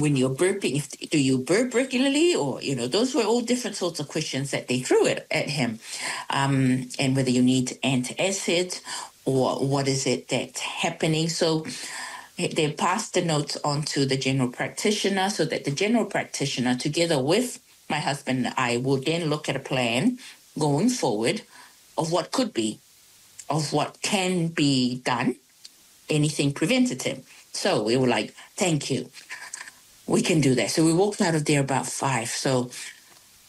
When you're burping, if, do you burp regularly? Or, you know, those were all different sorts of questions that they threw it at him. And whether you need antacid or what is it that's happening. So they passed the notes on to the general practitioner so that the general practitioner, together with my husband and I, will then look at a plan going forward of what could be, of what can be done, anything preventative. So we were like, thank you. We can do that. So we walked out of there about 5. So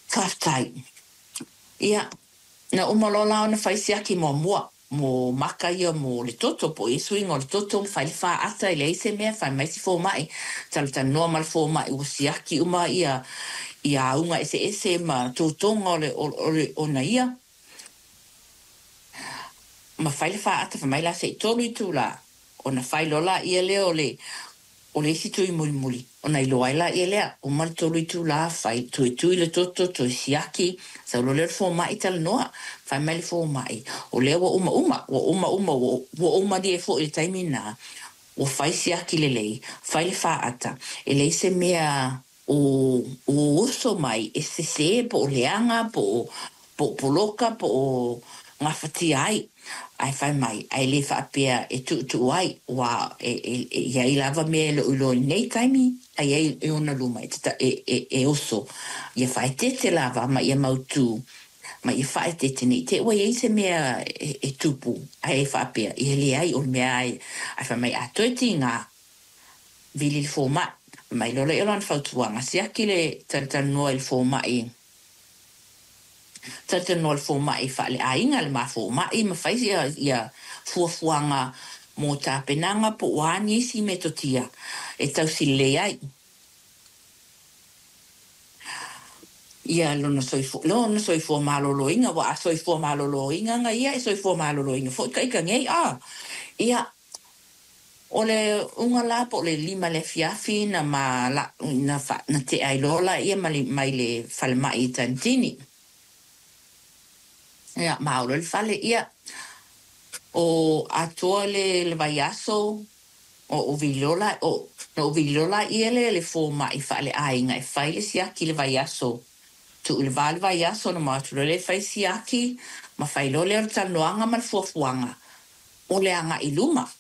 faafetai. Ia, na uma loa la ona fai siaki muamua mo maka ia mo le toto po o ia suiga o le toto, fai le faata e leai se mea, fai mai si fomai, talatalanoa ma le fomai ua siaki uma ia ia auga eseese ma totoga o le o le ona ia. Ma fai le faata, fai mai la se i 3 itulā ona fai loa laia lea o le o le isi tui mulimuli, ona iloa ai laia lea, uma le 3 itulā, fai, toe tui le toto, toe siaki, sau loa lea o le fomai talanoa, fai mai le fomai, o lea ua umauma, ua umauma, ua ua ou malie foi i le taimi lena, ua fai siaki lelei, fai le faata, e leai se mea o ua oso mai e sesē po o leaga po o po o poloka po o gafatia ai, ae fai mai, ae le faapea e tuutuu ai, ua e e e i ai lava mea e le o iloa i lenei taimi, a i ai e ona luma e tata e e e oso, ia faaeteete lava ma ia mautū, ma ia faaeteete ne i te i ua i ai se mea e e tupu, ae faapea, ia leai o le mea ae ae fai mai a toe tigā Vili le fomai. Mai loa lea o lana fautuaga, siaki le talatalanoa i le fomai, talatalanoa i le fomai faale-aiga, le ma fomai, ma fai ia, ia fuafuaga mo tapenaga po o a nisi metotia e tausi lelei ai ia lona soifua, lona soifua maloloina, aua a soifua maloloina na ia, e soifua maloloina foi ka ika nei, a. Ia, O le uga la po o le 5 i le afiafi na ma la na fa na tea ai loa laia ma le mai le falemai i Tanitini. Ia, ma olo i le fale, ia, o atoa le le vaiaso o ou vili loa la o na ou vili loa laia lea i le fomai faale-aiga e fai le siaki i le vaiaso. Tuu i le va le vaiaso ona ma o atu loa lea e fai siaki ma fai loa lea o le talanoaga ma le fuafuaga o le agai i luma.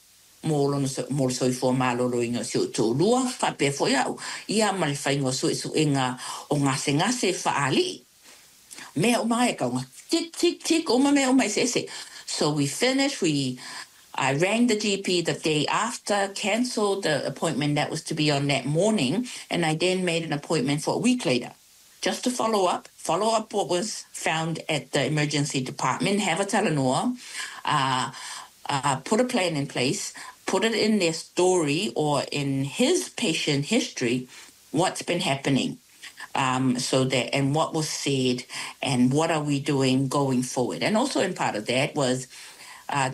Mo lona mo le soifua maloloina o si ou toalua, faapea foi au, ia ma le faiga o suesuega o gasegase faalii. Mea uma ai e kau tick, tick, tick, uma mea uma eseese. So we finished, we, I rang the GP the day after, cancelled the appointment that was to be on that morning, and I then made an appointment for a week later. Just to follow up, follow up what was found at the emergency department, have a talanoa, put a plan in place, put it in their story or in his patient history, what's been happening. So that and what was said and what are we doing going forward. And also in part of that was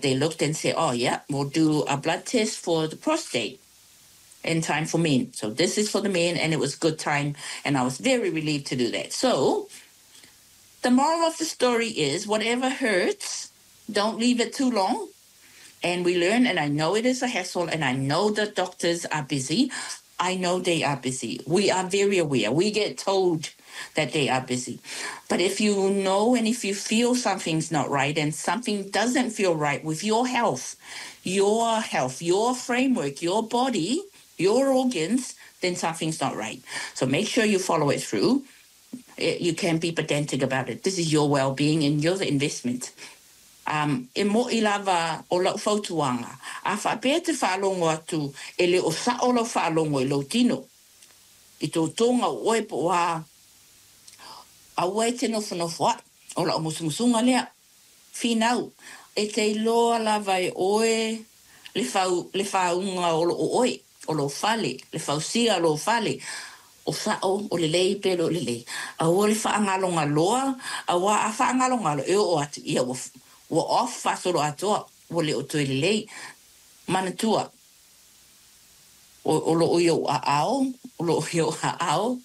they looked and said, oh yeah, we'll do a blood test for the prostate in time for men. So this is for the men, and it was good time, and I was very relieved to do that. So the moral of the story is whatever hurts, don't leave it too long. And we learn, and I know it is a hassle, and I know the doctors are busy. I know they are busy. We are very aware. We get told that they are busy. But if you know and if you feel something's not right and something doesn't feel right with your health, your health, your framework, your body, your organs, then something's not right. So make sure you follow it through. You can be pedantic about it. This is your well-being and your investment. Um, e moʻi lava o lau fautuaga, a faapea e te faalogo atu e le o sao lau faalogo i lou tino, i tou toga o oe po o a, aua e te nofonofo aʻe, o lau musumusuga lea. Finau, e te iloa lava e oe le fau, le fāuga o loo oe, o lou fale, le fausia o lou fale, o sao, o lelei pe le o lelei. Aua le faagalogaloa, auā a faagalogalo e oo atu, ia ua, ua off faasolo atoa, ua le o toe lelei. Manatua, o, o loo i ou aao, o loo i ou aao,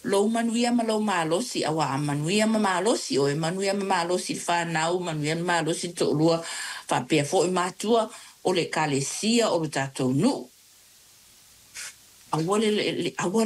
lou manuia ma lou malosi, auā a manuia ma malosi oe, manuia ma malosi le fanau, manuia ma malosi le toalua, faapea foi matua o le Ekalesia o lo tatou nuu. Aua le aua.